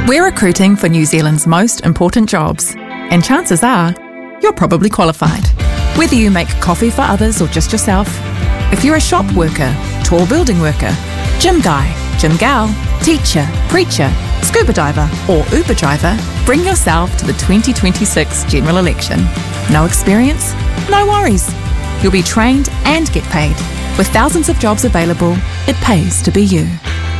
We're recruiting for New Zealand's most important jobs, and chances are you're probably qualified. Whether you make coffee for others or just yourself, if you're a shop worker, tall building worker, gym guy, gym gal, teacher, preacher, scuba diver, or Uber driver, bring yourself to the 2026 general election. No experience? No worries. You'll be trained and get paid. With thousands of jobs available, it pays to be you.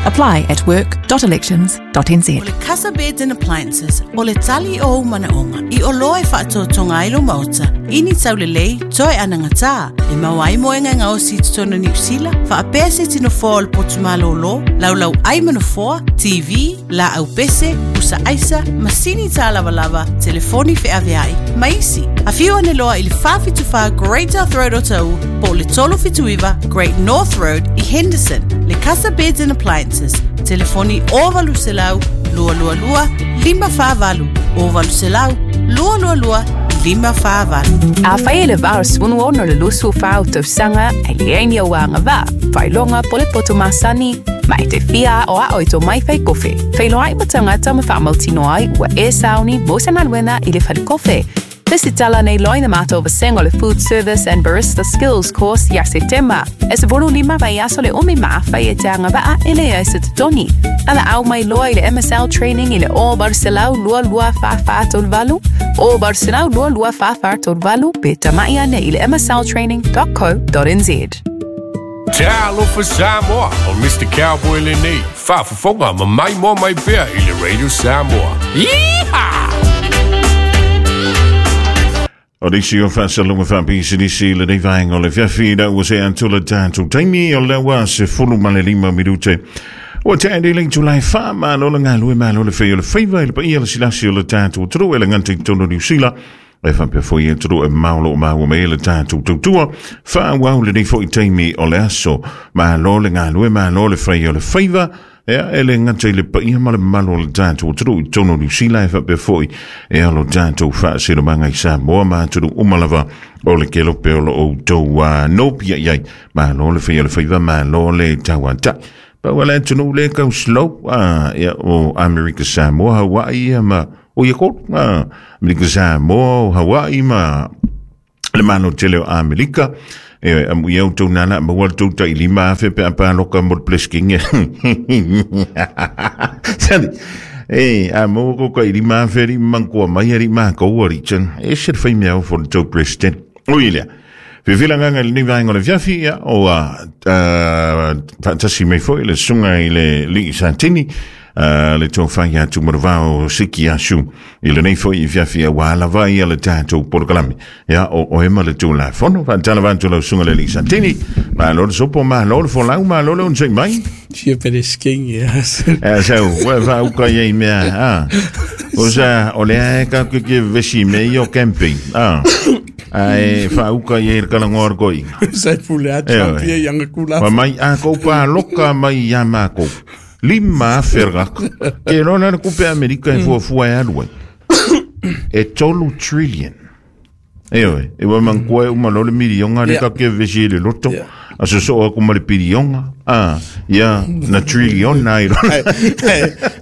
Apply at work.elections.nz. O le Casa Beds and Appliances, o le tali o ou manaoga, i oloa e faatoatoga ai lou maota, ini taulelei, toe anagatā, e maua ai moega e gaosi i totonu o Niu Sila, faapea se isi nofoa o le potu malōlō, laulau ai ma nofoa, TV, laau pese, pusa aisa, masini tālavalava, telefoni feaveai, ma isi. Afio ane loa i le 474 Great South Road Otahuhu po o le 379 Great North Road i Henderson. Le Casa Beds and Appliances, telefoni 0800 222 548, 0800 222 548. Afai e le va o 16 o le 24 tausaga e leai ni ou agavaa, faailoga po o le poto masani, ma e te fia aoao i tō mai whai kofe. Feiloai ma tagata ma faamautinoa ai ua e sauni mo se galuega i le fale kofe. Resitala nei loa i le matou vasega o le Food Service and Barista Skills Course ia Setema. E 15 vaiaso le umi ma afai e te agavaa e leai se totogi. Valaau mai loa i le MSL Training i le 0800 22 44 38, 0800 22 44 38 pe tamai ane i le msltraining.co.nz. Talofa Samoa, o Mr. Cowboy lenei, faafofoga ma maimoa mai pea i le Radio Samoa. Yeehaw! O nisi o faasaloga faapisinisi i lenei vaega o le afiafi ina ua sea atu le tatou taimi o lea ua 15 minute. Ua tea nei le itula e fa, malo le galue, malo le fai o le faiva i le paia le silasi o le tatou atunuu e le gata i totonu o Niu Sila, e faapea foi i atunuu e mamao o lo o maua mai ai le tatou tautua. Faaauau lenei foi taimi o le aso. Malo le galue, malo le fai o le faiva. Ea, e le gata i le paia ma le mamalu o le tatou atunuu i totonu o Niu Sila, e faapea foi e alo tatou faasinomaga i Samoa ma atunuu uma lava o le kelope o lo o outou nopia i ai. Malo le fai o le faiva, malo le tauatai. Pau lava le atunuu lea e tau slow, ia, o Amerika Samoa, Hawaii ia ma, o ia kolu, Amerika Samoa, o Hawaii ma le Malo tele o Amerika. E, amu ia outou nana maua le tou tai 5,000 pe a paloka mo le Presidente. Sali, e, a maua ko tai 5,000 ri mangkoa mai ari mākou ari tsan. E se le whai mea o fo le tou President. Ui lea. Whiwhila nganga i lenei vaenga o le fiafi, ia, o a, faatasi mai foi le susuga i le Lii Satini, le tofa ia Tumaravao Siki Asu i lenei foi fiafi aua lava ia le tatou polokalame. Ia, o oe ma le Tulafono. Faatalofa atu lau susuga le Lii Satini. Malo le sopo, malo le folau, malo le onosai mai. Fia Peresking, ia. Ea sau, ua faauka ia i mea, a. O sa, o lea e ka ke vesi me i o camping, a. Ae faauka i ai le kalangoa o le toeaina. Sa e pule a Trump ia i anga kula. Fa mai a kou paloka mai ia mākou. 5,000 le gaka. Ke loa la le kupe Amerika e fuafua e alu ai. E 3 trillion. E oe, e ua mankoa e uma loa le milionga le ka ke vesi i le loto. A sosoo aku ma le pilionga. Ah, ia, na trillion ai loa.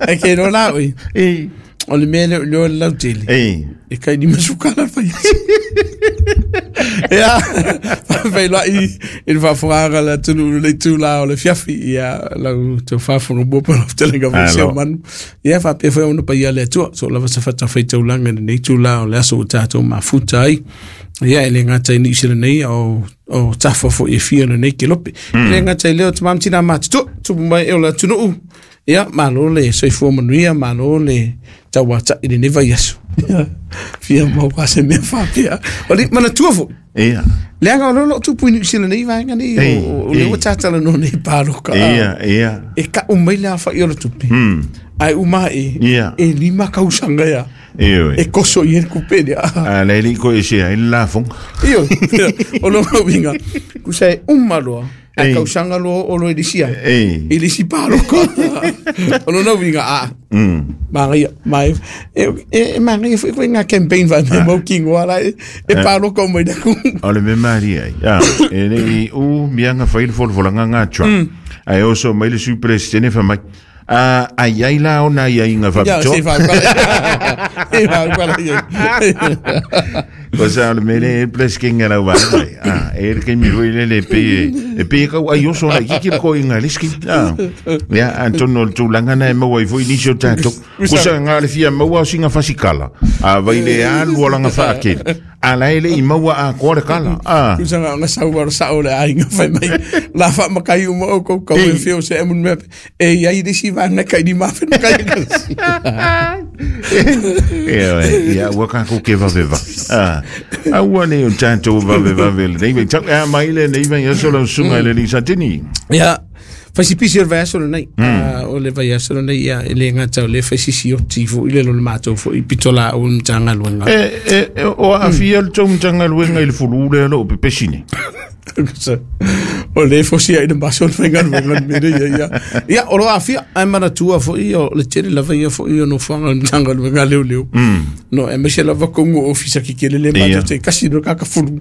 Ai ke loa la oi. O le mea lea o le lautele. Ei. E kai ni masukala fai. Ia, feiloai i le faafogaga a le atunuu i lenei itula o le afiafi, ia lau tau faafofoga mua po o lau fetalaiga foi Alo. Seumanu. Ia faapea foi ona paia le Atua, so lava se fatafaitaulaga i lenei itula o le aso ua tatou mafuta ai. Ia, e le gata i Niu Sila nei, o, o tafa foi e fia o lenei kelope. E le gata i lea o tama ma tina matutua, tupu mai e o le atunuu, Ia, malo le soifua manuia, malo le tauata'i i lenei vaiaso. Ia, fia maua se mea faapea. O le manatua foi. Ia. Leaga o lea o lo o tupu i Niu Sila nei vaega nei, o lea ua tatalanoa nei i paloka. Ia, ia. E ka'u mai le afa'i o le tupe. Ae uma ae, e 5 kausaga ia. Ioe. E koso i ai le kupe lea. A le alii koe e sea ai le lafoga. Ioe, o lona uiga, tusa e uma loa, A Ei. kausaga loa o loa i le isi ai. Ei. I le isi paloka. O lona uiga, a. Manaia, ma e, e, e manaia foi koe ngā campaign wha me mau kingoa la e, e paloka o mai na ku. O le mea malie ai. A, e le i u mianga fai le folafolanga ngā Trump. Ae oso mai le Sui Peresetene fai mai, Ai ai la ona ia inga Ia, faapitoa. se faaukala. Se faaukala ia. Ko sa le mele e plesking ala wa mai. Ah, e le kemi roi le le pe e pe ka ai oso la kiki ko inga leski. Ah. Ya antono tu langa na e maua i foi nisio tato. Ko sa nga le fia maua singa fasikala. A vai le alu ala nga whaakeli. A la ele i maua a koa le kala. Ah. Tusa nga sau wa sa o le ai nga fai mai. La fa makai uma o ko ko e fio se mun me. E ia i disi va na kai ni ma fe kai. E ia ua kako ke vave va. Ah. Aua ne o tato vave vave le nei tau a mai le nei vai aso la sunga le ni satini. Ia faisipisi o le vaiaso lenei. O le vaiaso lenei ia e le gata o le faisisi oti foʻi le lo le matou foʻi pitolaau le Matagaluega. E o aafia le tou Matagaluega i le fulu lea loo pepesi nei? O le fosia i le maso le faigaluega le mea ia ia. Ia o lo aafia ae manatua foʻi o le tele lava ia foʻi o nofoaga o le Matagaluega leoleo. No aemaise lava kogu ofisa kekele le matou te kasi no kakafulu.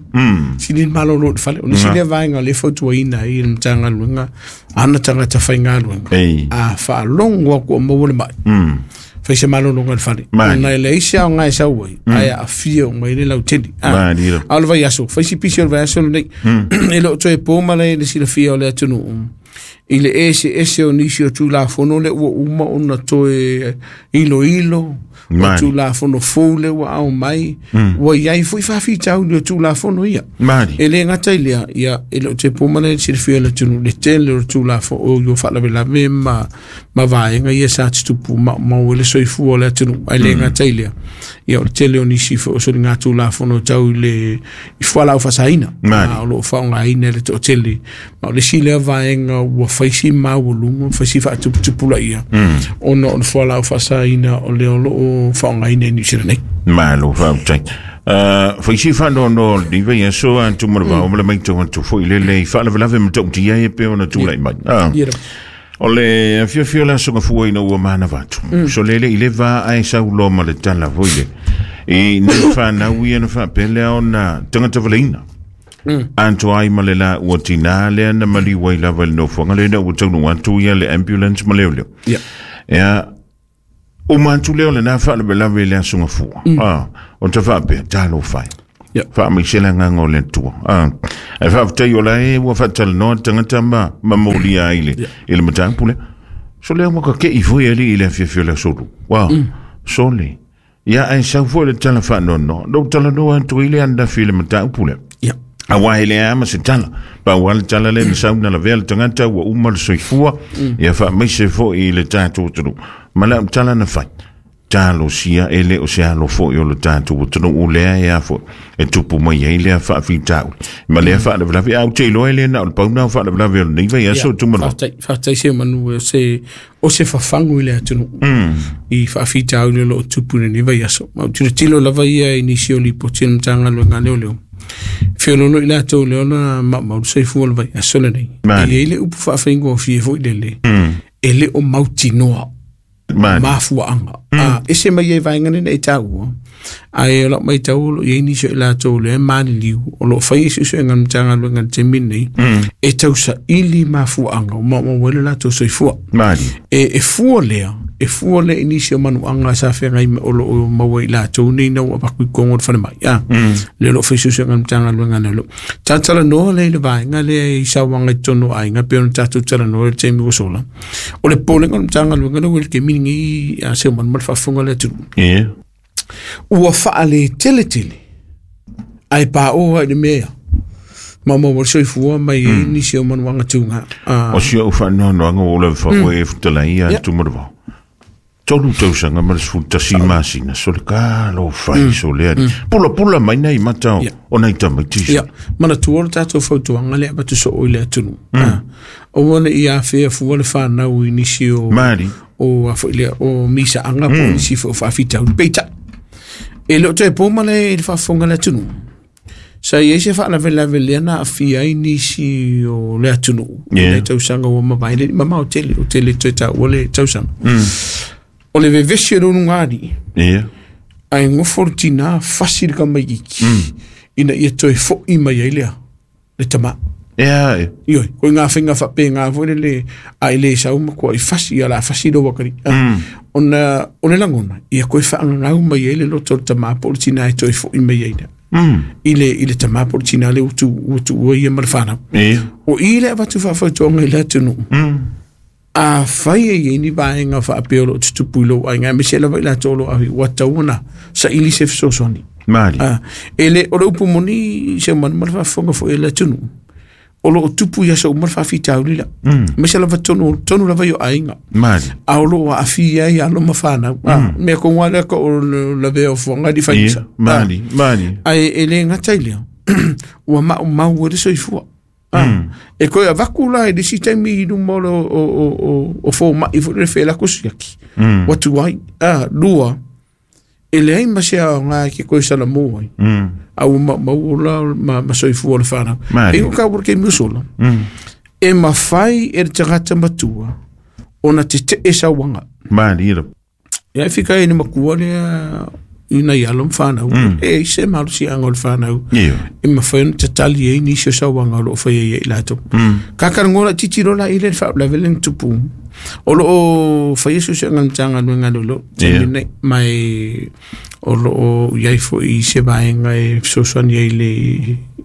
Sili le malolo i le fale. O nisi lea vaega o le fautuaina ai le Matagaluega ana tagata faigaluega. A faalogo aku o maua le mai. Fai se malologa i le fale. Ona e leai se aoga e sau ai, ae aafia uma ai le lautele. A o le vaiaso, fai si pisi o le vaiaso lenei. E le o toe po ma le silafia o le atunuu. I le eseese o nisi o Tulafono le ua uma ona toe iloilo, o Tulafono fou le ua ao mai, ua iai foi faafitauli o Tulafono ia. E le gata i lea, ia e le o te po ma le silafia o le atunuu le tele o le Tulafono o io faalavelave ma vaega ia sa tutupu maumau e le soifua o le atunuu. Ae le gata i lea, ia o le tele o nisi foi o soliga Tulafono tau i le i fualaau faasaina. O loo faaaogaina e le toatele. Ma o le isi lea vaega ua faisi maualuga, faisi faatuputupulaia, ona o le fualaau faasaina o lea o loo faaaogaina i Niu Sila nei. Malo faafetai. Faisi faanoanoa o lenei vaiaso a tumalavao ma le maitau atu foi lele i faalavelave matautia e pe ona tulai mai. O le afiafi o le aso gafua ina ua manava atu. So lele i le va ae sauloa ma le tala foi le. I nei whanau ia na whaapele ona tangata valeina. Anto ai ma le la ua tina lea na maliu ai lava i le nofoaga le na ua taunu atu ia le ambulance ma leo leo. Ea, o mantu leo le na whaalavelave le aso gafua. O te whaapea, talo whai. Whaamaise nganga o le atua. E whaafetai o la e ua whaatalanoa tangata ma mamolia ai le i le mataupu lea. So lea ua kakei foi ali i le afiafi o le aso lua. Wow. So le. Ia ae sau foi le tala whaanoanoa. No talanoa atu i le andafi i le mataupu lea. A wae le ama se tala. Pa ua le tala le na sau na lavea le tangata ua uma le soifua. Ia whaamaise foi i le tātou tunu. Ma lau tala na whai. Talo sia e le o se alo foi o le tātou tunu u lea e a foi. E tupu mai ai lea faafitauli. Ma lea faalavelave au te iloa e le na o le pauna o faalavelave o lenei vaiaso tumanoa. Faafetai se manu o se fafagu i le atunuu. I faafitauli o loo tupu i lenei vaiaso. Ma ou tilotilo lava ia i nisi o lipoti o le Matagaluega leoleo. Feololo i latou le ona maumau le soifua o le vaiaso lenei. E iai le upu faafaigofie foi lele. E le o mautinoa. Mafuaanga. Ese mai ai vaega nei e taua. Ae o lau maitau o loo iai nisi o i latou lea e maliliu o loo fai ai suesuega a le Matagaluega i le taimi lenei e tausaili mafuaaga o maumau ai le latou soifua. E fua lea, e fua lea i nisi o manuaga sa feagai o loo maua i latou nei na ua avatu i kogo o le falemai. Lea o loo fai suesuega a le Matagaluega lea o loo tatalanoa lea i le vaega lea i sauaga i totonu o aiga pei ona tatou talanoa i le taimi ua sola. O le popolega o le Matagaluega lea ua i le taimi lenei a se manu ma le faafofoga o le atunuu. Ua faaleteletele ae paoa i le mea maumau ai le soifua mai ai nisi o manuaga tuga. O si au faanoanoaga ua lava faafoe e futalai ia tumalavao. 3 tausaga ma le 11 masina so le kalo fai so le ali. Pula pula mai nei mata o nei tamaiti. Ia, manatua le tatou fautuaga lea avatu soo i le atunuu. Aua ne i afea fua le whanau i nisi o o a foi lea o misaaga po o nisi foi o faafitauli. Peitai, e le o toe po ma le i le faafofoga le atunuu. Sa iai se faalavelave lea na aafia ai nisi o le atunuu. I le tausaga ua mavae le mamao tele, o tele toe taua le tausaga. O le vevesi o le ulugalii. Ae gofo le tinā fasi le tamaitiiti ina ia toe foʻi mai ai lea le tamā. Ea e. Ioe, ko ngā whenga whape ngā fo le a i le sau ma kua i fasi ia la fasi lo wakari. Ona o le langona, ia koe whaangangau mai e le loto o le tamā po o le tina e toi fo i mai e ina. I le tamā po o le tina le utu ua ia ma le whanau. O i le avatu whaafautuanga i le atunu. A whai e ni vaenga whaapeo lo tutupu i lo ai ngai me se lava i la tolo ahi ua tauona sa ili se fesoasoani. Mali. E le o le upu moni se manu ma le faafofoga foi e le atunuu o loo tupu ia sa uma le faafitauli la. Me se lava tonu lava i o aiga. Mali. A o loo aafia ai alo ma whanau. Mea konga lea ka o lavea o fuanga di whaisa. Mali, mali. Ai e le ngata i lea. Ua mau e le soifua. E koe a vaku la e lisi taimi i luma o fō mai fo le whela kusiaki. Watu ai. Lua, e leai ma se ao ngā ke koe sala mō ai. Au mau o la ma soifua le whanau. E o ka wura ke miusola. E mawhai e le tagata matua o na te te e sawanga. Mali ira. Ia e whika e ni makua lea i nei alo mwhanau. E se malu si anga o le whanau. E mawhai ona tatali e ni sio sawanga o loo whai e i lato. Kakarangola titiro la i le whaolavele ni tupu. O loo whai e susu anga mtanga nuenga lolo. Nei mai o loo iai fo i se vaenga e fesoasoani ai le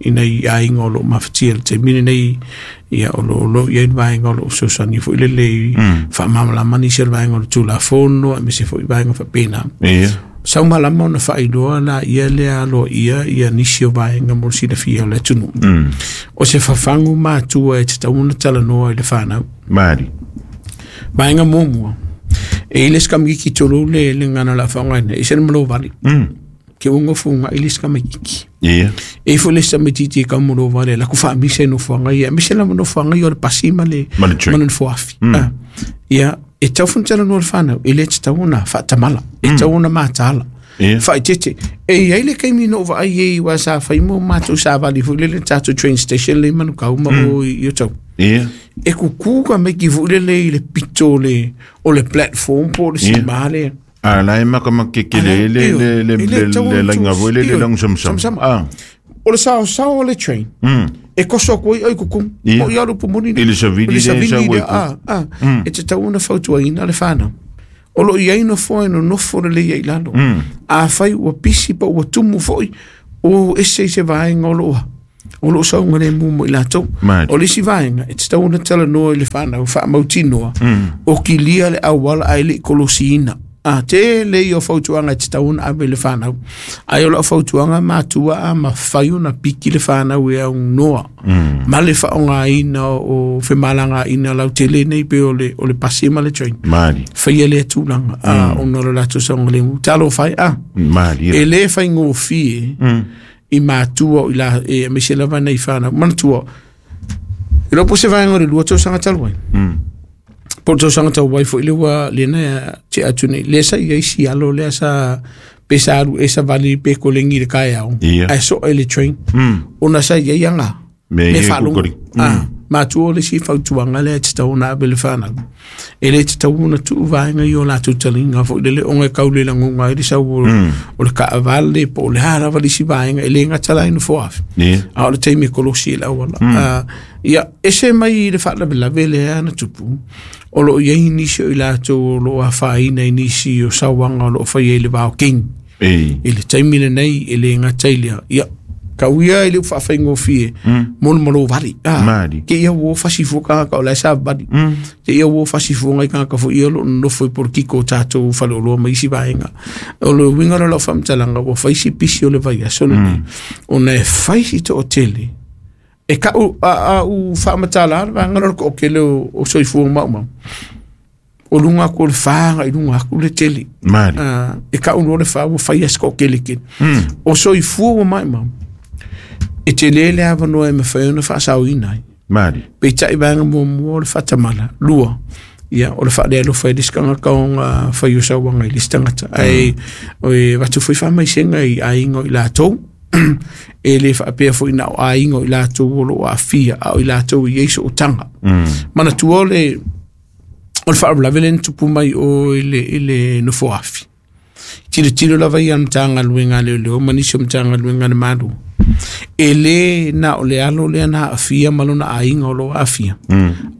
i nei aiga o loo mafatia le taimi lenei ia o loo iai le vaenga o loo fesoasoani foi le le faamalamalama nisi o le vaenga o le tulafono aemaise foi vaenga faapena. Sau malama ona faailoa la ia lea aloaia ia nisi o vaenga mo le silafia o le atunuu. O se fafagu matua e tatau ona talanoa i le fanau. Mali. Vaenga muamua. E ile sikamikiki tolu le ngana la whaongaina. E se malo vali. Ke ungo funga ile sikamikiki. E fo le samititi e kaumolo vale. La ku whaamise no whaonga ia. Mise la no whaonga ia o le pasi ma le mana fuafi. Ia, e tau funtela no le whanau. E le te tau ona whaatamala. E tau ona mātala. Whaitete. E iai le kaimi no wa ai e iwa sa whaimo mātou sa vali fu le tātou train station le manu kauma o i o tau. E kuku ka meki fu le le i le pito le o le platform po le sima le. A la e maka makeke le le le le le lainga voi le le lang samsam. O le sao sao o le train. E koso koe ai kuku. O ia rupu moni. I le savili le sa ue. E te tau ona fautuaina le whanau. O lo iai no foe no nofo le lei lalo. A whai ua pisi pa ua tumu foi o ese i se vaenga o loa. O loo saunga le mumo i latou. O le isi vaenga, e te tau ona talanoa i le whanau, whaamautinoa. O kilia le awala ai le kolosiina. A te le o fautuanga e te tau ona ave le whanau. Ai o lau fautuanga mātua a mawhai ona piki le whanau e au noa. Ma le whaonga ina o whemalanga ina lau te le nei pe o le pasi ma le train. Mali. Whaia le tūlanga. Ona o le latou saunga le ngu. Talo whai a. Mali. E le whai ngōwhie i mātua i la e mese lava nei whanau. Manatua. I lopo se vaenga o le lua tau sanga talu ai. Po tau sanga tau wai fo i le ua le nea te atu nei. Le sa ia isi alo lea sa pe sa aru e sa vali pe kolengi le kai au. Ai so e le train. Ona sa ia ianga. Me whalunga. Mātua o le si fautuanga lea te tau ona awe le whanau. E le te tau ona tuu vaenga i o lātou talinga fo i le onga kau le langonga i le sau o le kaavale po o le harawa le si vaenga e le ngata lai no foafi. A o le teime kolosi e lauala. Ia, ese mai i le whaalavelave le ana tupu. O loo iai nisi o i lātou o loo a whaina i nisi o sawanga o loo whai e le wao king. I le taimi le nei e le ngata i lea. Ia, ka uia i le whaawhaingofie mono malo vari. Ke ia wo whasifu kanga ka o lai sa vari. Ke ia wo whasifu ngai kanga ka fo ia lo nofo i porokiko tātou whale o loa maisi vaenga. O le winga lo whamtalanga o whaisi pisi o le vai aso le nei. O na e whaisi te o tele. E ka u whaamatala ara vaenga lo ko kele o soifua maumau. O lunga ko le whaanga i lunga aku le tele. E ka u le whaa o whai asko kele kele. O soifua maumau. E te lele awanoa e mawhai ona whaasau inai. Mali. Pe tai vaenga mua o le whatamala. Lua. Ia, o le whaalea lo whai liskanga kaonga whai o sauanga i listangata. Ai, o e watu fui whamaisenga i ainga i lātou. E le whaapea fo i nao ainga i lātou o lo a fia a o i lātou i eiso o tanga. Mana tua o le whaaralavele ni tupu mai o i le nofo afi. Tiro tiro lava ia mtanga luenga leo leo, manisio mtanga luenga le malu. E le na o le alo lea na aafia ma lona aiga o loo aafia.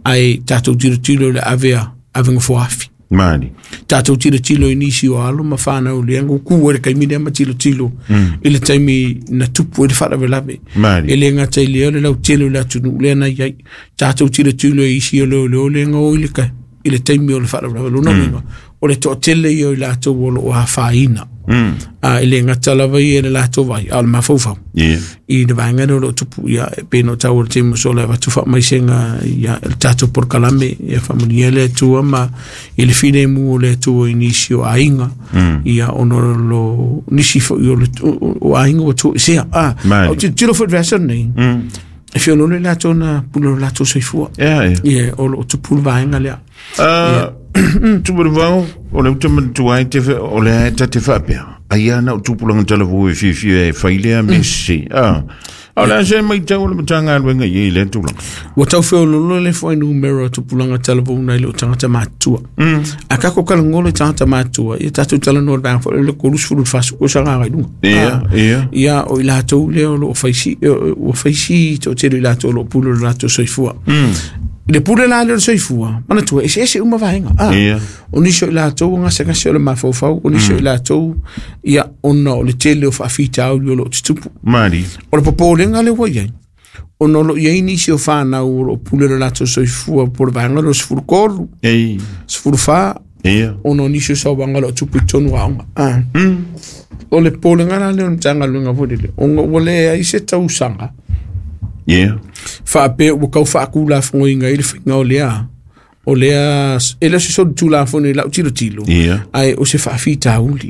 Ae tatou tilotilo i le avea avega foafi. Mali. Tatou tilotilo i nisi o alo ma whanau lea ngu ku e le kaimi lea ma tilotilo i le taimi na tupu e le faalavelave. Mali. E le gata i lea o le lautele o le atunuu lea na iai. Tatou tilotilo i isi o leoleo lea na o i le kai i le taimi o le faalavelave. Lona uiga o le toatele ia o i latou o loo afaina. A e le gata lava ia i le latou vai a o le mafaufau. Ia. I le vaega lea o loo tupu ia e pei ona ou taua i le taimi ua sola e avatu faamaisega ia le tatou polokalame ia faamanuia le Atua ma i le filemu o le Atua i nisi o aiga ia ona o lo nisi foi o le o aiga ua toesea. A Mali. o tilotilo foi i le vaiaso lenei e feoloolo i latou na pule o latou soifua. Ia, ia. Ia o loo tupu le vaega lea. Tumanuvao, o le uta manatua ai te o le ae ta te faapea. Ai ana o tupulaga talavou e fiafia e fai lea mea sese. A o le a se matau a le Matagaluega i ai i lea tulaga? Ua tau feoloolo le fuainumera o tupulaga talavou nai loo tagata matutua. A tatou talanoa i tagata matutua, ia tatou talanoa i le vaega foi lea o le 30 i le 40 tausaga agai i luga. Ia, ia. Ia o i latou lea o loo faisi ua faisi toatele i latou o loo pule o le latou soifua. I le pule la lea o le soifua, manatua e eseese uma vaega. Ia. O nisi o i latou o gasegase o le mafaufau, o nisi o i latou ia ona o le tele o faafitauli o loo tutupu. Mali. O le popolega lea ua iai, ona o loo iai nisi o whanau o loo pule le latou soifua po o le vaega lea o le 13, Ei. 14, Ia. ona o nisi o sauaga o loo tupu i totonu o aoga. O le popolega la lea o le Matagaluega foi lele, ona ua leai se tausaga Ia. faapea ua tau faatulafonoina ai le faiga o lea o lea e le o se solitulafono i lau tilotilo. Ia. Ae o se faafitauli.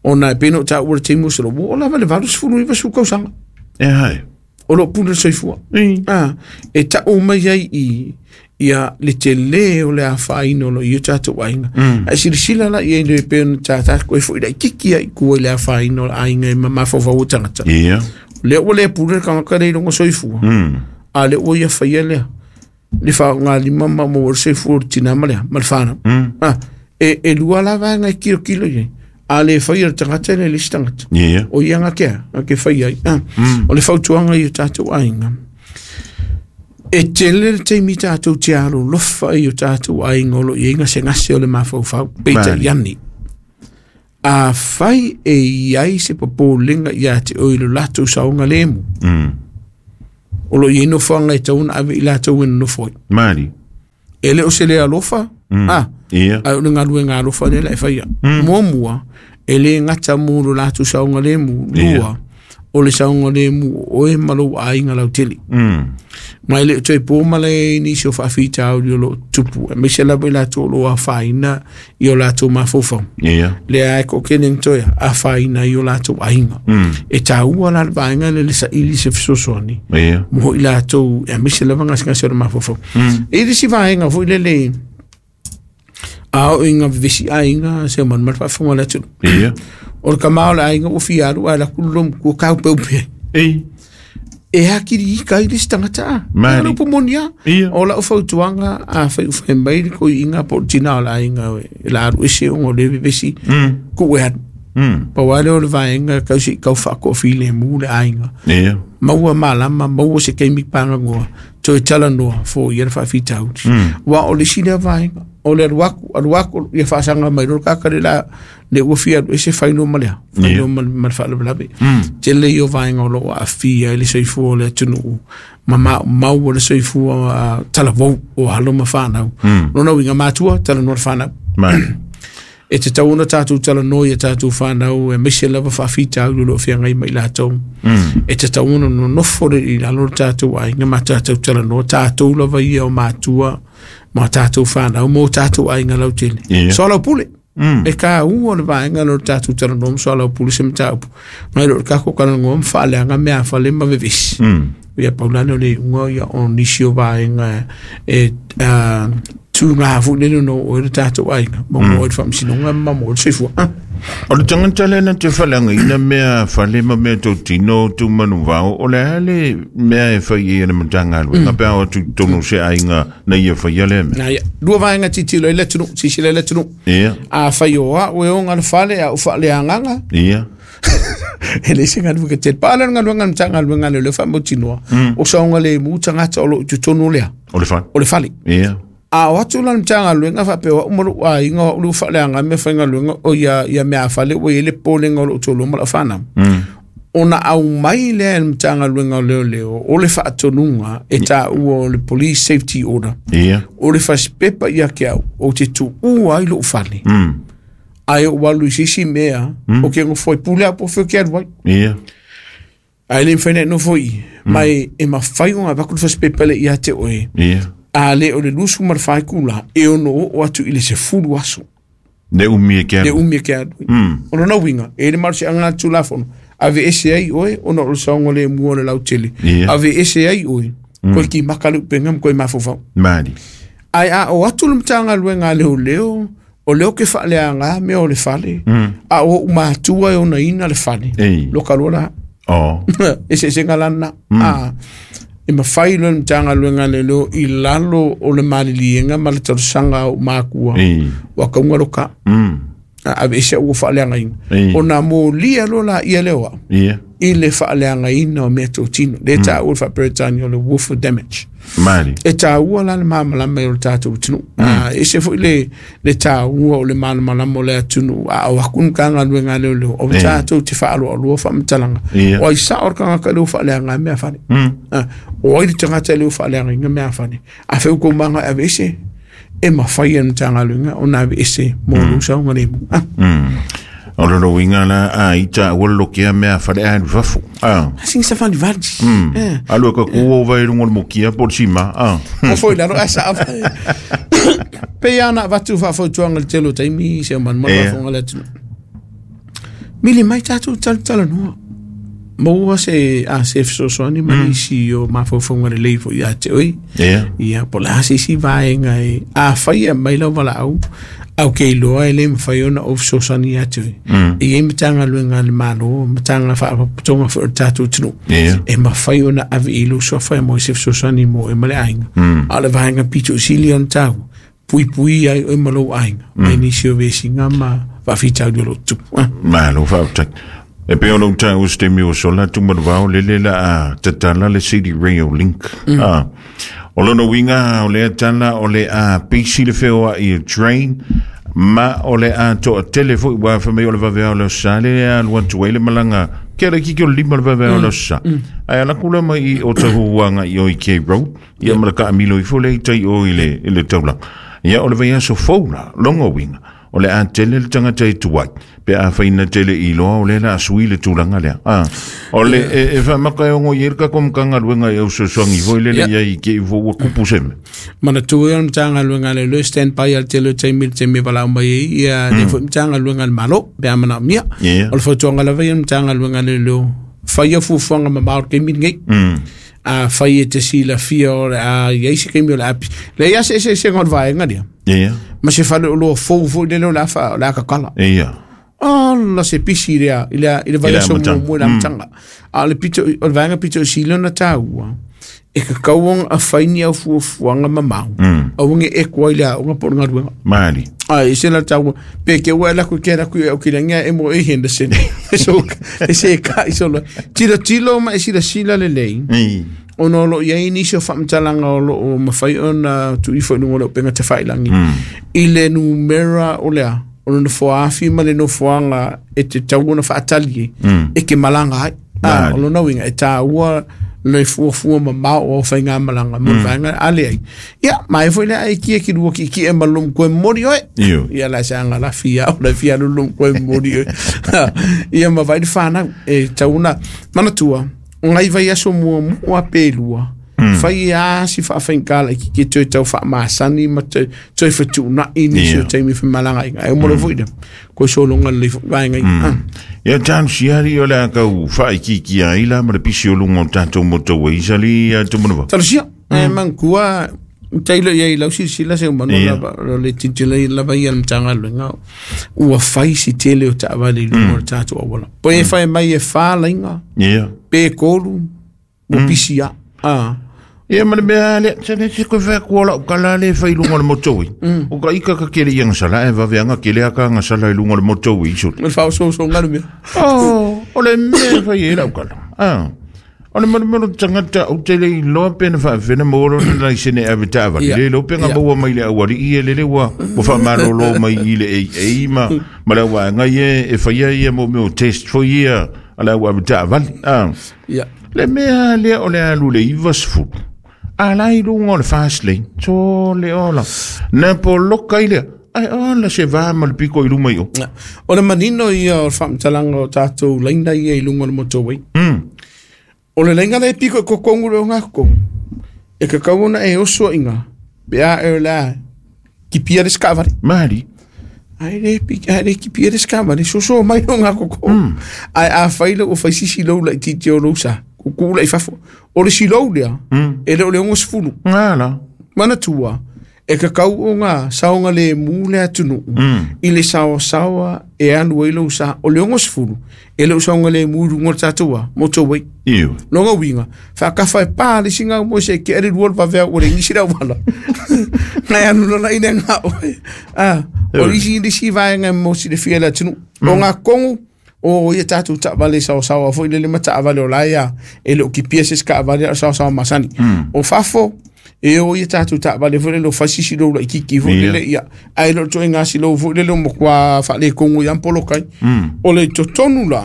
Ona e pei ona ou taua i le taimi o se ua oo lava i le 80 90 tausaga E hai. o loo pule le soifua. E tau mai ai i ia le tele o le afaina o loo i ai o tatou aiga. Ae silasila la i ai le pei ona tatou e foi laitiiti ai i tua i le afaina o le aiga e mafaufau o tagata. Ia. Lea ua le pule le tagata lea i lona soifua. A lea ua ia faia lea le faaaogalima ma maua le soifua o le tina ma lea ma le fanau. E lua la vaega e kilokilo i ai. A le faia le tagata le isi tagata. Ia. O ia nga kea, nga ke fai ai. O le fautuaga i o tatou aiga. E tele le taimi tatou te alolofa i o tatou aiga o loo i ai gasegase o le mafaufau. Peitai Mali. ane. A fai e iai se popolega ia te oe i lo latou saogalemu. O loo i ai nofoaga e tatau ona ave i latou e nonofo ai. Mali. E le o se le alofa, Ia. ae o le galuega alofa lea la e faia. Muamua, e le gata mo lo latou saogalemu. Lua, o le saogalemu o oe ma lou aiga lautele. Ma e le o toe po ma le nisi o faafitauli o loo tupu, aemaise lava i latou o loo afaina i o latou mafaufau. Ia. Lea e toatele na toe afaina i o latou aiga. E taua la le vaega lea le saili se fesoasoani. Ia. Mo i latou, aemaise lava gasegase o le mafaufau. E i le isi vaega foi lele, a oo ina vevesi aiga se malemale faafofoga o le atunuu. Ia. O le kama o le aiga ua fia alu ae alu atu le lomatua kaupeupea ai. Ei. E akili ika ai le isi tagata a. Mali. O le upu moni lava. Ia. O lau fautuaga a fai ua fai mai le toeaina po o le tina o le aiga e la alu ese ona o lea e vevesi tuu e alu. Pau lava lea o le vaega tau se i tau faatoafilemu le aiga. Ia. Maua malama, maua se taimi paganoa, toe talanoa foia le faafitauli. Aua o le isi lea vaega, o le alu atu, alu atu, ia faasaga mai loa le tagata le la, le ua fia alu ese fai loa ma lea, fai loa ma le faalavelave. Tele ia o vaega o loo aafia ai le soifua o le atunuu, ma maumau o le soifua talavou o alo ma fanau. Lona uiga matua, talanoa le fanau. Mali. E tatau ona tatou talanoa ia tatou fanau aemaise lava faafitauli o loo feagai ma i latou. E tatau ona nonofo le i lalo le tatou aiga ma tatou talanoa, tatou lava ia o matua ma tatou fanau mo tatou aiga lautele. Ia. Soalaupule. E taua le vaega lea o le tatou talanoa ma soalaupule se mataupu. Nai lo le tatou talanoa ma faaleaga mea fale ma vevesi. Ia pau la lea o le iuga ia o nisi o vaega e tū ngā foi lele no oe le tatou aiga ma mo oe le faamasinoga ma mo oe le soifua. O le tagata lea na te faaleagaina mea fale ma mea tautino tumanuvao, o le a le mea e fai ai e le Matagaluega pe a o atu i totonu o se aiga na ia faia lea mea? Na ia, lua vaega tilotilo ai le atunuu, silasila ai le atunuu. Ia. A fai o au e oga le fale, a ou faaleagaga, Ia. E le se galuega tele. Pau lea o le galuega a le Matagaluega a Leoleo faamautinoa, o saogalemu tagata o lo o i totonu o lea, O le fale. o le fale. Ia. A o atu la le Matagaluega faapea o au ma lou aiga o au le ua faaleaga meafaigaluega o ia, ia meafale ua i ai le popolega o lou toalua ma lau fanau. Ona aumai lea e le Matagaluega o Leoleo o le faatonuga e taua o le Police Safety Order. Ia. O le fasipepa ia te au, ou te tuua ai lou fale. Ae ou alu i se isi mea, ou te nofo ai pule au po o fea ou te alu ai. Ia. Ae le mafai ona e nofo i i. Ma e mafai ona avatu le fasipepa lea ia te oe. Ia. A le o le 24 itula, e ono oo atu i le 10 aso. Le umi e ke Le alu. umi e ke alu. O lona uiga, e i ai le malosiaga a le Tulafono, aveese ai oe ona o le saogalemu o le lautele. Ia. Aveese ai oe, koe kimaka le upega ma koe mafaufau. Mali. Ae a o atu le Matagaluega a Leoleo, o lea ou te faaleaga mea o le fale, a o ou matua e onaina le fale, Ei. loka loa la. O. Eseesega la lena. A, e mafai loa e le Matagaluega a Leoleo i lalo o le maliliega ma le talosaga a ou makua, Ei. ua kauga loka. A aveese au ua faaleagaina. Ei. Ona molia loa laia lea o au Ia. i le faaleagaina o mea totino. Lea e taua le faa-Peretania o le wolf damage. Mali. E taua la le malamalama o le tatou atunuu. Ese foi le, le taua o le malamalama o le atunuu. A o aku ni Matagaluega a Leoleo, o tatou te faaloaloa faamatalaga. Ia. O ai sao le tagata lea ua faaleaga ai mea fale. O ai le tagata lea ua faaleagaina mea fale. A fai ua kou maga e aveese, e mafai e le Matagaluega ona aveese mo lou saogalemu. O le uiga la a ita ua lokea mea fale a fafo. Ah. Sigi sa valivali. Alu e ka ku o vai rungo le mokia po le sima. Ah. O foi lalo ae saa Pe ia na avatu faafautuaga i le tele o taimi se o manumanu Ia. faafofoga le atunuu. Mili mai tatou talatalanoa. Maua se a se fesoasoani ma nisi o mafaufauga lelei foi ia te oe. Ia. Ia, po o le a se isi vaega e afai e aumai lau valaau, au ke iloa e le mafai ona ou fesoasoani ia te oe. E i ai Matagaluega a le Malo, Matagaluega Faalapotopotoga foi o le tatou atunuu. Ia. E mafai ona ave i lou suafa e mo se fesoasoani mo oe ma le aiga. A o le vaega pito sili ona taua, puipui ai oe ma lou aiga, mai nisi o vesiga ma faafitauli o lo o tutupu. Ah. Malo faafetai. E pei ona ou taua se taimi ua sola atu ma le vao lele la a tatala le City Rail Link. Ah. O lona uiga o lea tala o le a pisi le feoai e train ma o le a toatele foi ua fai mai o le vaveao o le aso Sa le alu atu ai le malaga ke ala kiki o le 5 le vaveao o le aso Sa. Ae ala ku la mai i Otahuhu agai i o i K Road ia ma le kaamilo ifo lea i tai o i le, i le taulaga. Ia o le vaiaso fou la, longa uiga o le a tele le tagata e tuai pe a faina tele i loa o le la sui le tulaga lea. Ah, o le e, e faamaka e ogo i ai le tatou Matagaluega i au fesoasoani foi lele Ia. ia i ke i fo ua kupu se mea. Manatua ia le Matagaluega a Leoleo stand by a le tele o taimi i le taimi e valaau mai ai ia le foi Matagaluega a le Malo pe a manaomia. Ia. O le fautuaga lava ia le Matagaluega a Leoleo, fai fuafuaga mamao o le taimi lenei. A fai e te silafia o le a i ai se taimi o le api. Leai lava se eseesega o le vaega lea. Ia. Ma se fale oloa fou foi lele o le a o le a kakala. Ia. Ala se pisi lea i le i le vaiaso amataga. muamua i le amataga. A o le pito o le vaega pito sili ona taua, e kakau ona afai ni au fuafuaga mamao. Aua ne i e koa i le aoga po o le galuega. Mali. Ai, se la taua, pe ke ua la ku ke la ku au ki lenga e mo e Henderson. So, e se ka i solo. Tilo tilo ma e sila sila lelei. Ei. Ona o loo i ai nisi o faamatalaga o loo mafai ona tuuifo i luga o le upega tafailagi i le numera o lea o le nofoa afi ma le nofoaga e te tau ona faatali ai e ke malaga ai. Mali. O lona uiga e tāua le fuafua mamao o faigamalaga mo le vaega a leai. Ia ma e foi lea ai kia ki lua ki'eki'e ma lou matua e momoli oe. Io. Ia la se aga lafi au la fia lou matua e momoli oe. Ia ma vai le fanau e tau ona manatua o ngai vaiaso muamua pe lua. Fai a si faafaigā laitiiti e toe tau faamasani ma toe toe fetuunai nisi o Ia. taimi femalagaiga. Ae uma loa foi lea, koe sologa lelei foi vaega ia. Ah. Ia tanu siari o le a kau whaikiki ai la ma le pisi o lunga o tātou moto e isali a tumanava. Talosia, e manatua tailo i ai lau silasila se manu Ia. lava o le tilotilo lava ia le Matagaluega ua fai si tele o taavale i luga o le tatou auala. Po e fai mai e whā laiga, Ia. pe 3, ua pisi a. Ah. Ia ma le mea lea, se le se koe whea kua lau kala le whai lunga le motowi. O ka ika ka kele i anga e vave anga kele aka anga sala i lunga le motowi isole. Ma whao so so ngaru mea. Oh, o le mea whai e lau kala. Ah. O le manu manu tangata o te le iloa pena whaawhena mōro na lai sene ave taavali. Le lo penga maua mai le awari i e lele ua ua whaamalolo mai i le ei ei ma ma le awa ngai e e whaia ia mo meo test fo ia a le awa ave taavali. Ah. Le mea lea o le alu le 90. A lai lunga o le fast lane. So le ola. Na po loka i lea. Ai ola se vā ma le piko i luma i o. O le manino ia o le faamatalaga o tatou laina ia i luga o le motorway. O le laina le piko i kokongu le o ngā kokongu. E kakau ona e oso inga. Pe a e o le a kipia le skavare. Mari. Ai le piki, ai le kipia le skavare. So mai o ngā kokongu. Ai a whaila o whaisisi lau lai titi o lousa. Kuku lai fafo. O le silou lea. E le o le ongo sefulu. Ngā Mana tua. E kakau o ngā saonga le mū le atunu. I le sawa sawa e anu e lau sa. O le ongo sefulu. E le o saonga le mū rungo tātua. Motorway. Iu. Longa winga. Whakawhai pā le singa mo se ke ere ruol pawhea o le ngisi rau wala. Ngai anu lona ine ngā oe. Ah, o isi isi vaenga mo si le fia le atunu. O ngā kongu o ia tātou taavale sawasawa foi lele ma taavale o laia e le o kipia se skaavale o sawasawa masani. O fafo e o ia tātou taavale foi lele o fasisi lou la ikiki foi lele ia. Ai lo toe ngā si lou foi lele o mokua whaale kongu i ampolokai. O le totonu la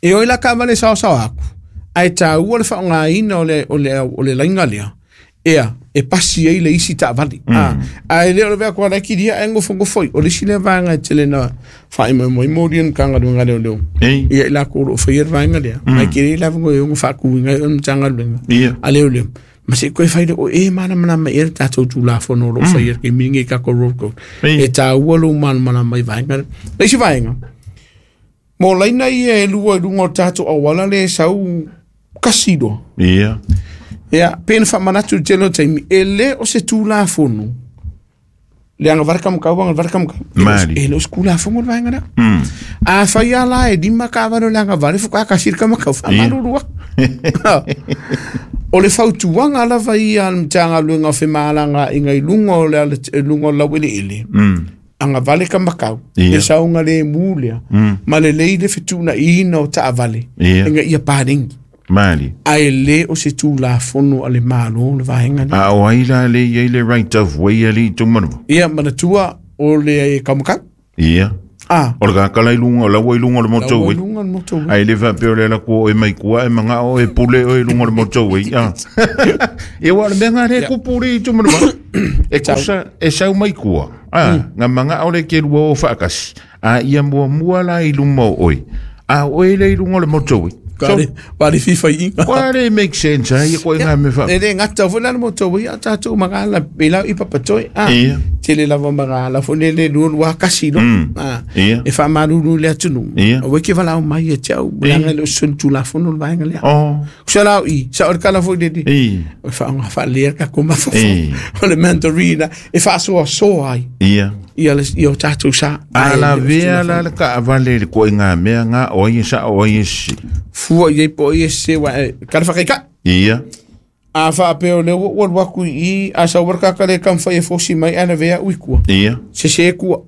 e o ila kaavale sawasawa aku. Ai tā ua le whaongaina o le lainga lea. Ea, e pasi ei le isi taavale. Ai le o le vea kua lai kiria e ngofo ngofoi. O le isi le vaenga e tele na whae mai moi mori en kanga lunga leo leo. Ia ila ko o whaia vaenga lea. Mai kiri la vango e ungo whaku inga e mtanga lunga. A leo leo. Ma se koe whaire o e mana mana mai e tātou tū la whono ro whaia ke mingi kako road code. E tā ua lo mana mana mai vaenga. Le isi vaenga. Mo laina ia e lua lunga o tātou awala le sau kasiro. Ia. Ia, pena whamanatu telo taimi, e le o se tū la whono. Le anga varaka mkau, anga varaka mkau. Mari. E le o se kula whango le vaenga rea. A whai a la e lima ka avaro le anga vare fuka kasirika makau, whamarurua. O le fautuanga lava ia al mtanga luenga o whemalanga inga i lunga o le lunga o lawele ele. Anga vale ka makau. E saunga le mūlea. Ma le leile whituna ina o taavale. Inga ia pārengi. Mali. Ai le o se tū la whono a le mālo le vaenga. A o ai la le i le right of way a le tūmanu. Ia, manatua o le kamakau. Ia. Ah. O le kakala i lunga, o laua i lunga o le motorway. Laua i lunga o le motorway. Ai le whapeo le la kua e mai kua e manga o e pule o e lunga o le motorway. Ah. Ia wa le mea ngā re kupuri i tūmanu. E kusa, e sau mai kua. Ah, ngā manga o le ke lua o whaakasi. A ia mua mua la i lunga o oi. A o e le i lunga o le motorway. Wari fifa inga. Wari make sense, ai ko inga me fa. E le ngata fo la motorway a tātou mangala pela i papatoi. Ah. Tele lava mangala fo le le lua kasi no. Ah. E fa maruru le atunu. O ke vala mai e tau langa le sun tu la fo no vaenga le. Oh. Sala i sa o kala fo le. O fa nga fa le ka koma fo. O le mentorina e fa so so ai. Ia. Ia le ia tātou sa. A la vea la ka vale le ko inga mea nga o ia sa o ia si. Fua i po i se wa ka whakaika. Ia. A whaapeo le ua waku i a sa warkaka le kamwhai e fosi mai ana vea uikua. Ia. Se se kua.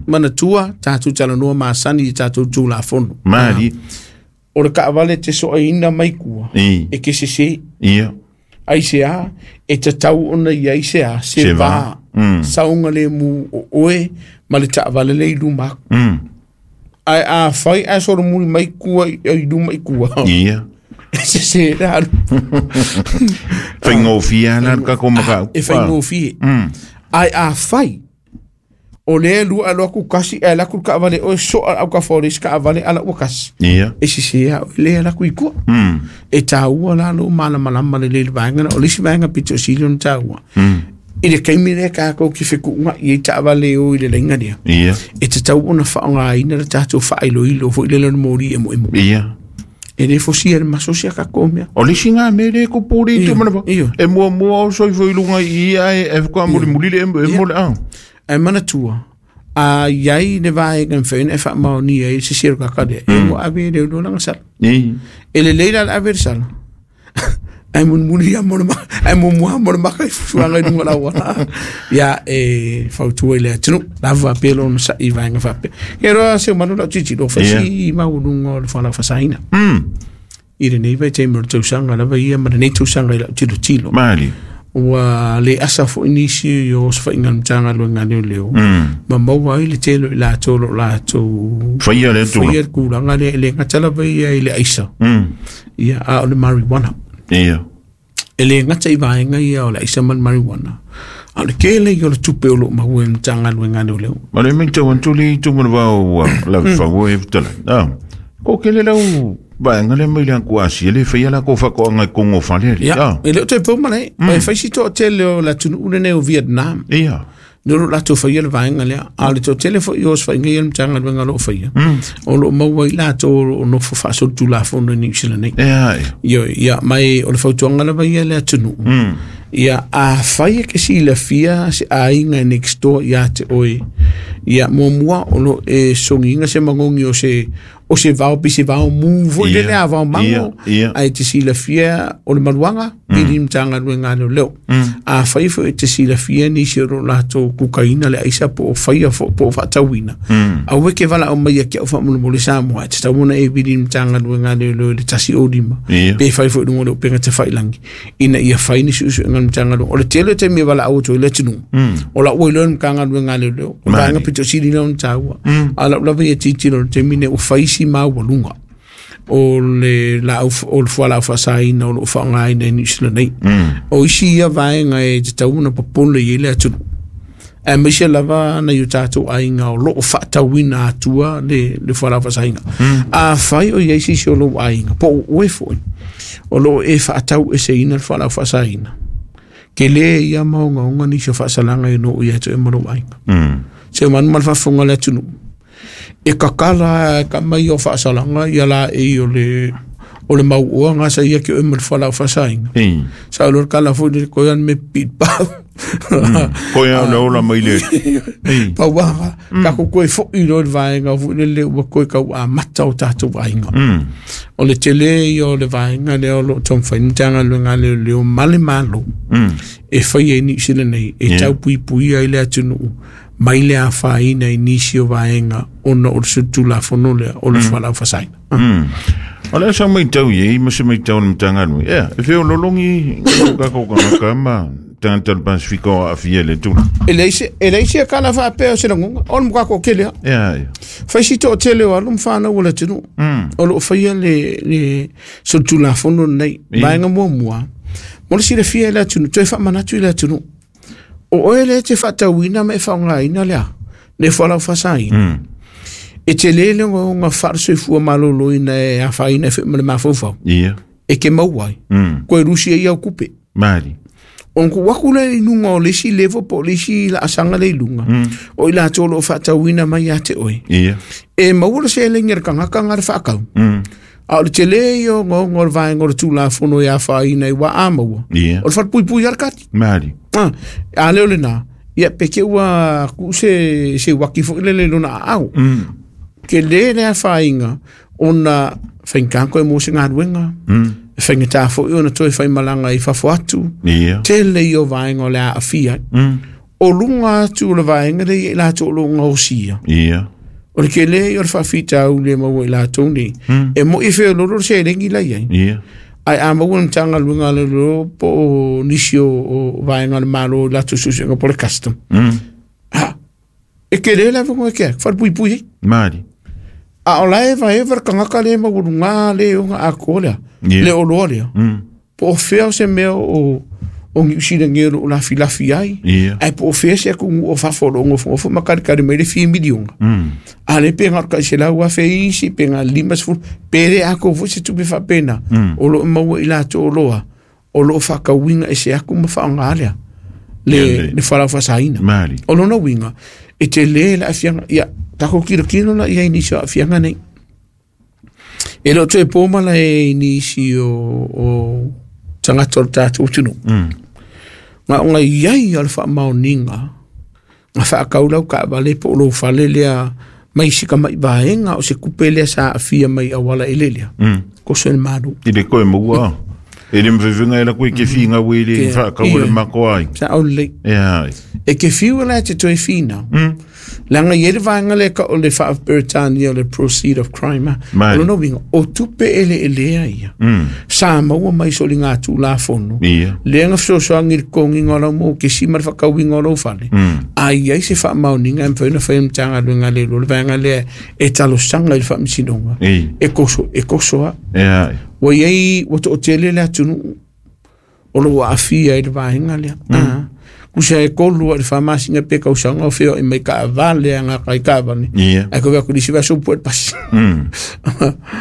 Manatua tātou talanoa masani i tātou tū la whono. Mari. O le kaavale te soa ina mai kua. E ke se se. Ia. Ai se a, e tatau ona i ai se a, se vā. Saunga le mu o oe, ma le taavale le i luma. Ai a whai a soro muri mai kua i luma i kua. Ia. Se se rā. Whaingofia la ka ko makau. E whaingofia. Ai a whai. O le lua aloa ku kasi e la ku ka vale o so au ka forest ka vale ala o kasi. Ia. E se se a le ala ku i kua. E tāua la lo mana mana mana le vaenga o le si vaenga pito sili on tāua. I le kaimi le ka ko ki whiku i taavale o i le lenga nia. Ia. E te tau ona whaonga ina le tātou whailo ilo fo i le lana mori e mo e mo. Ia. E le fosi e le masosia ka komea. O le singa me le ko pori te mana. E mua mua o soi fo i lunga i ia e whakua muri muri le e mo le au. E manatua. A iai le vaenga mwhaina e whaamao ni e se siro kakarea. E mo ave le ulanga sala. E le leila le ave le sala. Ai mulimuli ia mo le ai muamua mo le maka i fuafuaga i luga o le auala. Ia e fautua i le atunuu lava pe lona sa'i vaega faapea. Ia loa se manu lau tilotilo fai si maualuga o le fualaau faasaina. I lenei vaitaimi o le tausaga lava ia ma lenei tausaga i lau tilotilo. Mali. Ua le asa foi nisi o osofaiga a le Matagaluega a Leoleo ma maua ai le tele o i latou o lo o latou faia le faia le tulaga lea, e le gata lava ia i le aisa, ia, a o le marijuana. Ia. E le gata i vaega ia o le aisa ma le marijuana, a o le tele ia o le tupe o lo o maua e le Matagaluega a Leoleo. Ma le matau atu le itu ma le vao ua lave fau e fetalai. Ah, ko kele lau vaega lea mai le atu Asia le faia la ko faatoaga i totonu o fale ali. Ia, Ah, e le o toe pau malae, e fai si toatele o le atunuu lenei o Vietnam. ia. Ne o latou faia le vaega lea. A o le toatele foi o osofaiga ia a le Matagaluega o lo o faia, o lo o maua ai latou o lo o nofo faasolitulafono i Niu Sila nei. Ia, ia. Ioe, ia, mai o le fautuaga lava ia i le atunuu. Ia, afai e ke silafia se aiga e next door ia te oe, ia, muamua o lo o e sogiina se magogi o se o se vao pe se vao mu foi lele a vao mango, ae te silafia o le maluaga pili i le Matagaluega a Leoleo. Afai foi e te silafia nisi o lo latou kukaina le aisa po o faia foi po o faatauina, aua e ke valaau mai ia ki au faamolemole Samoa, e tatau ona e vili i le Matagaluega a Leoleo i le 105, pe fai foi i luga o le upega tafailagi, ina ia fai ni suesuega a le Matagaluega. O le tele o taimi e valaau atu ai le atunuu, o lau ua iloa e le Matagaluega a Leoleo, o vaega pito sili lea ona taua. A o lau lava ia tilotilo i le taimi lenei ua fai si maualuga o le laau, o le fualaau faasaina o lo o faaaogaina i Niu Sila nei. O isi ia vaega e tatau ona popole i ai le atunuu, aemaise lava nai o tatou aiga o lo o faatauina atua le fualaau faasaina. Afai o i ai se isi o lou aiga, po o oe foi, o lo o e faatau eseina le fualaau faasaina, tele ia maogaoga nisi o faasalaga e noo ia te oe ma lou aiga. Se manu ma le faafofoga a le atunuu, e kakala e ka mai o faasalaga ia la e o le mauoa gasa ia ke oe ma le fualaau faasaina. Sa o le kala foi le koe an me pit pa. Koe au le ola mai le. Pauaga, ka ko koe foi lo le vaega foi le le ua koe kau a mata o tātou aiga. O le tele ia o le vaega lea o lo o taumafai ni Matagaluega a Leoleo ma le Malo e fai ai Niu Sila nei, e taupuipuia ai le atunuu mai le afaina i nisi o vaega ona o le solitulafono lea o le fualaau faasaina. O le sa matau i ai ma se matau o le Matagaluega. Ia, e feolologi o kākou kānaka ma tagata o le Pasifika o aafia i le tulaga. E leai se kala faapea o se lagona, o le matua toatele lava. Ia, ia. Fai si toatele o alo ma fanau o le atunuu o lo o faia le solitulafono lenei. Vaega muamua, mo le silafia e le atunuu, toe faamanatu i le atunuu. O oe lea e te faatauina ma e faaaogaina lea, le fualaau faasaina. E tele le ogaoga faale-soifua maloloina e afaina ai foi ma le mafaufau. Ia. E ke maua ai. Koe lusi ai au kupe. Mali. Ona tuu atu lea i luga o le isi level po o le isi laasaga lea i luga, o i latou o lo o faatauina mai ia te oe. Ia. E maua le seleni a le tagata na le faatau. A o le tele ia o ogaoga o le vaega o le Tulafono e afaina ai ua a maua. Ia. O le falepuipui lava le kati. Mali. A lea o lena, ia pe ke ua tuu se uaki foi lele i lona aao. Tele le afaina ona faigata koe mo se galuega. E faigata foi ona toe faimalaga i fafo atu. Ia. Tele ia o vaega o le a aafia ai. O luga atu o le vaega lea i latou o lo o gaosia. Ia. O le tele ia o le faafitauli e maua i latou nei. E moi e feololo le seleni la i ai. Ia. Ae a maua le Matagaluega a le Leoleo po o nisi o vaega o le Malo i latou suesuega po o le custom. Ha, e tele le avanoa e ke ai, falepuipui ai. Mali. A o la e evaeva le tagata le maualuga le ona atoa lea, Ia. le oloa lea. Po o fea o se mea o Niu Sila nei o lo o lafilafi ai, Ia. ae po o fea se atunuu o fafo o lo o nofonofo ma kalikali mai le fia miliona. A le pe na o le 100,000 isi, pe na o le 50, pe le atoa foi se tupe faapena, o lo o maua i latou oloa, o lo o faatauina e se atu ma faaaoga lea, Ia, le fualaau faasaina. Mali. O lona uiga, e tele le aafiaga, ia, tatou tilotilo la i ai i nisi o aafiaga nei. E le o toe po malae i nisi o tagata o le tatou atunuu. Na ona i ai o le faamaoniga, na faatau lau taavale po o lou fale lea mai si tamai vaega o se kupe lea sa aafia mai auala elelea. Koso e le Malo. I le koe maua. E le mwhewhenga e la koe ke whinga we le Ke- whaakawa le Ie. mako ai. Sa au lelei. E ai. E ke fiu la te toe whina. Langa i ele vaenga le ka o le wha-Britannia o le proceed of crime. ah. Mai. O lona uiga, o tupe ele elea ia. Sa maua mai so li ngā tū la fono. Ia. Le nga fesoasoani i le kogiga o lau mokesi ma le faakauiga o lou fale a iai se faamaoniga e mafai ona fai e Matagaluega a le Iloa le vaega lea e talosaga i le faamasinoga Ei. e koso e koso a E ai. ua iai ua to'atele le atunuu o lou aafia i le vaega lea Ah. kusa e kolu a le faamasina pe kausaga o feoai mai kaavale agakai kaavane Ia. ae kovea kulisi vaiaso pue le pasi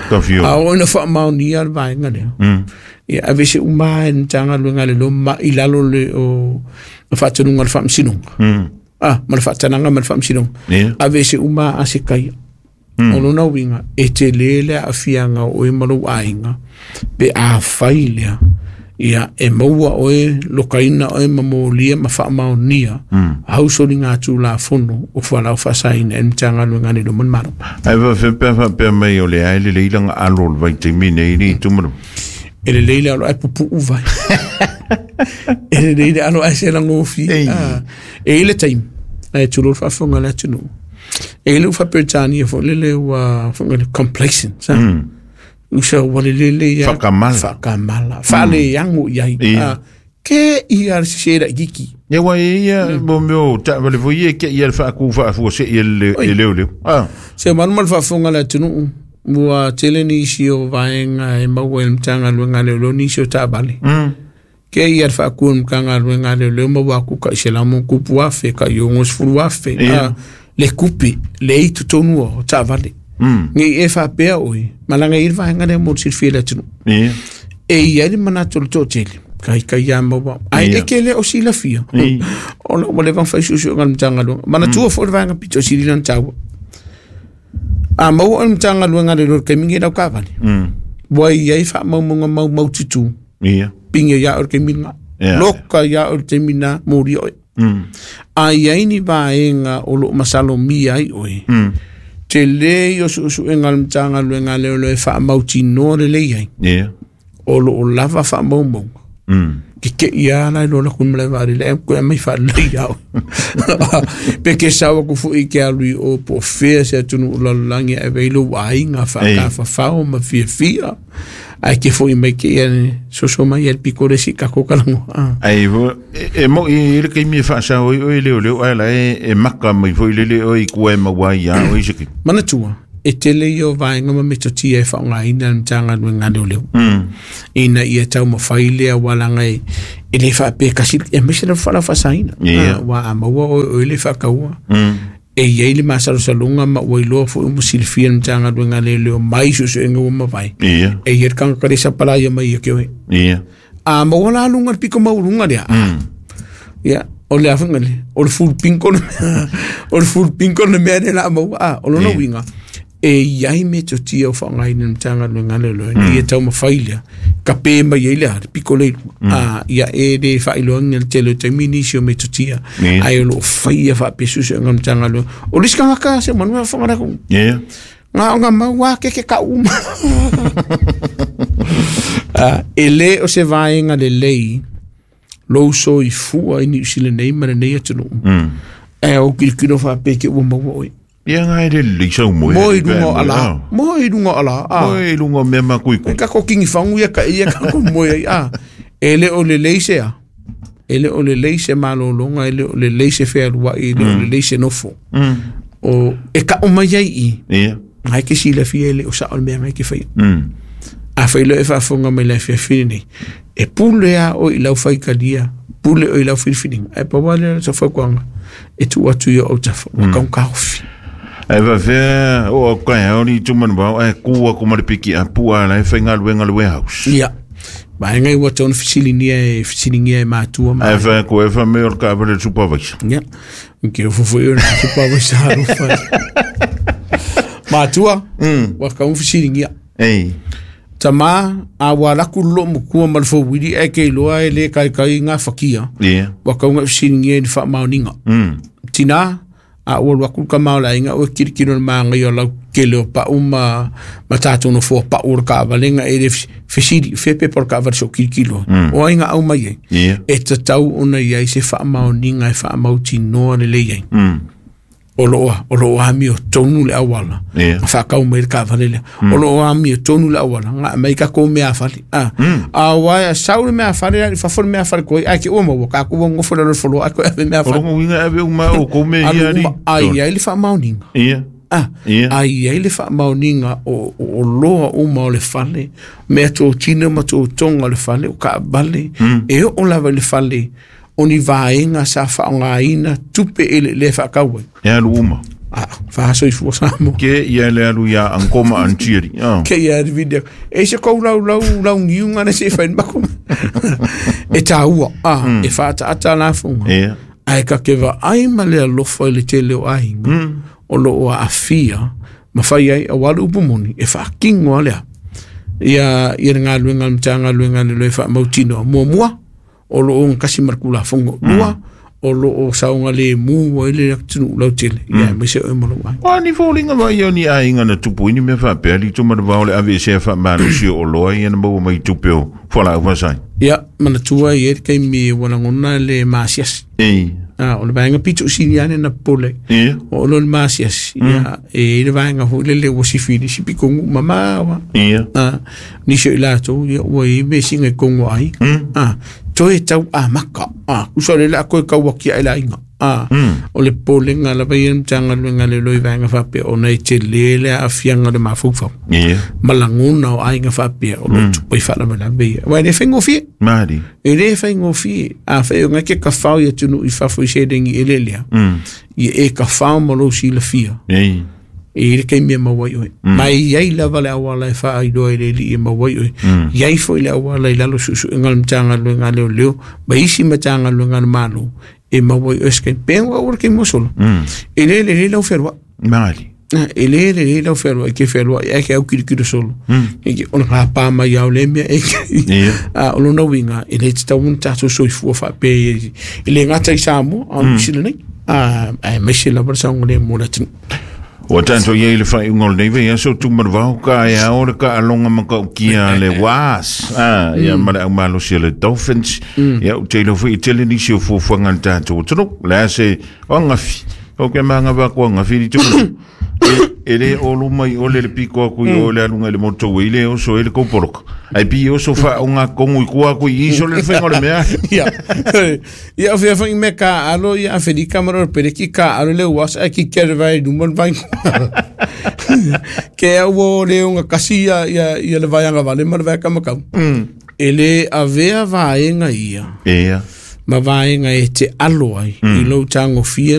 Ka whio. a oo ina faamaonia le vaega lea ia ave se uma e le Matagaluega a le Loa ma i lalo le o le faatanuga o le faamasinoga ah ma le faatanaga ma le faamasinoga Ia. ave se uma a se kaia o lona uiga e telē le aafiaga o oe ma lou aiga pe afai lea ia e maua oe lokaina oe ma molia ma faamaonia hausoliga tulafono o fualau faasaina e le Matagaluega a le Loa ma le Malo. Ai wa whipea whapea mai o le ai le leilanga alo le vai te mine i li tumanu. E lelei le alo ae pupuu vai e lelei le alo ae se lagofi Ei. Ah, e i le taimi ae tulou le faafofoga le atunuu e i le ufaperetania foi lele ua foga le complacent sa usa ua lelele ia Whakamala. whakamala faaleago i ai Ia. Ah, ke ia le sese laʻikiki Ia wa e ia mo meo ta wale fo ia ke ia le whaaku whaafua se ia le Oi. e leo leo. Ah. Se manu ma le faafofoga le atunuu ua tele nisi o vaega e maua i le Matagaluega a Leoleo nisi o taavale ke ia le faakua le Matagaluega a Leoleo ma ua aku ka i se lamu kupu afe ka i ogo sefulu afe Ia. Ah, le kupe le i totonu o taavale nei e faapea oe malaga i le vaega lea mo le silafia i le atunuu Ia. e iai le manatu o le toatele kaikai ia maua ae Ia. e ke le o silafia Ia. ona ua leva ona fai suesuega le Matagaluega manatua foi le vaega pito sili lana taua a maua o le Matagaluega a le Loa le taimi lau kavale ua iai faamaumauga maumau tutū Ia. pinga ia o le taimi lena Ia. loka ia o le taimi na molia oe a iai ni vaega o loo masalomia ai oe telē i o suesuega a le Matagaluega a Leoleo e faamautinoa lelei ai Ia. o loo lava faamaumauga kekeʻi a la e loa laku malae vaalele ae koe mai faalelei ao pe ke sau aku foʻi ke alu i o po o fea se atunuu lalolagi ae vei lou aiga faakafafao ma fiafia ae ke foʻi mai ke ia soso mai ia le piko le si kako kalago ah. Ai fo e mo i le keimi e whaasao i o e leo leo ai la e e maka mai fo i lele o i kua e maua i a o i seki. Manatua e tele ia o vaega ma metotia e faaaogaina le Matagaluega a Leoleo ina ia taumafai lea ualaga e e lē faapea kasi e maise le faalaau faasaina Ia. Ah, ua a maua oe oe le faakaua e iai le masalosaloga ma ua iloa foʻi ma silafia le Matagaluega a Leoleo mai suesuega ua mavae Ia. e ia le kagakalesa palaia mai ia ke oe Ia. a maua la luga le piko maualuga lea ia o le afuga le o le fulupinko le o le fulupinko le mea le la maua a o lona Ia. uiga e iai metotia o faaaogaina le Matagaluega a Leoleo ina ia taumafai lea kapē mai ai le a le piko le iluga a ia e lē faailoaga le tele o taimi nisi o metotia Ia. ae o loo faia faapesusuega le Matagaluega o le isi tagata se manu e faafofoga le Ia. ngā o ngā mau a ke ke ka uma. Ah, e le o se vaenga le lei, lou soifua i Niu Sila nei ma lenei atunuu. E o kilokilo faapea ke ua maua oe. Ia ngai le lei sau moe. Mo i lunga o ala. Mo i lunga o ala. Ah. Mo i lunga o mea makui E kako kingi fangu ia ka ia kako moe ai. Ah. E le o le lei se a. E le o le lei se malologa, e le o le lei se fealuai, e le o le lei se nofo. O e ka o mai ai i. Ia. Ngai ke silafia e le o sa o le mea ngai ke whaia. A whai e whaafonga mai lai fiafini nei. E pule a o i lau whaikalia, pule o i lau whiriwhiringa. E pawa lea sa whaukuanga, e tu atu i o autafa, mm. wakaun ka hofi. Ai va fea o au kai hao ni tumanu wau ai kua ko mare piki a pua la e whainga luenga le warehouse. Ia. Ba ngai ua tona fisilinia e fisilinia e mātua ma. Ai fa ko e fa me o ka vale supervisor. Ia. Ke o fufu i o na supervisor harufa. Mātua, wakaun fisilinia. Ei. Tama, a wa laku lo mukua ma le fauwili e ke iloa e le kai kai ngā whakia. Ia. Wakaunga fisilinia i ni whaamaoninga. Tina, A ua alu atu le tama o le aiga ua kilokilo i le magaia o lau tele o pau ma ma tatou nofoa pau o le taavale na e le fesili fea pepa o le taavale se i ou kilokilo ai. O ai na aumai ai? E tatau ona i ai se faamaoniga e faamautinoa lelei ai. O lo o o lo o amiotonu le auala na faatau mai ai le taavale lea. O lo o amiotonu le auala na aumai ai tatou meafale. A, aua e sau le meafale alu i fafo le meafale tuai ae te i ua maua tatou ua nonofo i lalo o le floor ae toe ave O meafale. lona uiga e ave uma lava outou mea Alu ia alii. uma, a i ai le faamaoniga. A, a i ai le faamaoniga o oloa uma o le fale, mea totino ma totoga o le fale, o taavale, e oo lava i le fale o ni vaega sa faaaogaina tupe eleelea e faatau ai. E alu uma. A, faasoifua Samoa. Ke ia le alu ia Ankoma Antieri. Oh. Ke ia le video. E se kou lau lau lau niunga na se whai mako. E tāua, a, e whaataata lafoga. Ae ka ke vaai ma le alofa i le tele o aiga, o lo o aafia ma fai ai aua le upu moni e faatino lava lea. Ia, ia le galuega a le Matagaluega a Leoleo e faamautinoa. Muamua, o lo o ogatasi ma le Tulafono. Lua, o lo o saogalemu ai le atunuu lautele, ia aemaise oe ma lou aiga. O a ni foliga vaaia o ni aiga na tupu ai ni mea faapea, alii Tumanavao o le aveesea faamalosi o oloa ia na maua mai i tupe o fualaau faasaina? Ia, manatua e i ai le taimi ua lagona le maasiasi. A, o le vaega pito sili lava lea na popole ai. Oo loa i le maasiasi, ia, e i ai le vaega foi lele ua sifi i le isi pitonuu mamao lava. A, nisi o i latou, ia, ua i ai vesiga i totonu o aiga. A, toe tau amata. A, tusa o lea o le a toe tau atiae le aiga. A, o le popolega lava ia o le Matagaluega a Leoleo i vaega faapea ona e tele le aafiaga o le mafaufau. Ma lagona o aiga faapea o lo o tupu ai faalavelave ia. Aua e le faigofie. Mali. E le faigofie. Afai o lena e te tafao i atunuu i fafo i seleni eleele, ia e tafao ma lou silafia. E i ai le taimi e maua ai oe. Ma e i ai lava le auala e faailoa e le Alii e maua ai oe. E i ai foi le auala i lalo o suesuega a le Matagaluega a Leoleo ma isi Matagaluega a le Malo e maua ai oe se taimi. Pe ua le taimi ua sola. E le lelei lau fealuai. Mali. E le lelei lau fealuai, e te fealuai ae ke autilotilo solo. O le gapa mai lava o lea mea e A o lona uiga, e le tatau ona tatou soifua faapea e le gata i Samoa, a o Niu Sila nei, aemaise lava le saogalemu o le atunuu. Ua tatou i ai i le faaiuga o lenei vaiaso, Tumanavao, ka e ao le taaloga matautia a le Wasps, ia ma le aumalosi a le Dolphins. Ia, ou te iloa foi e tele nisi o fuafuaga a le tatou atunuu. O le a se o angafi, o ke maga va ko angafi li tu. E le olu mai ole le piko aku i o le aluga i le motu i le oso e le koupoloka. Ai pi oso fa o ngā kongu i kua aku i iso le whenga o le mea. Ia, ia o fea foi me ka alo ia Aferika ma le pereki ka alo le uasa ai ki kere vai luma le vai. Ke au o le onga kasi ia, ia, ia le vaianga vale ma le vai kamakau. E le avea vaenga ia. Ia. Ma vaenga e te alo ai i lou tagofia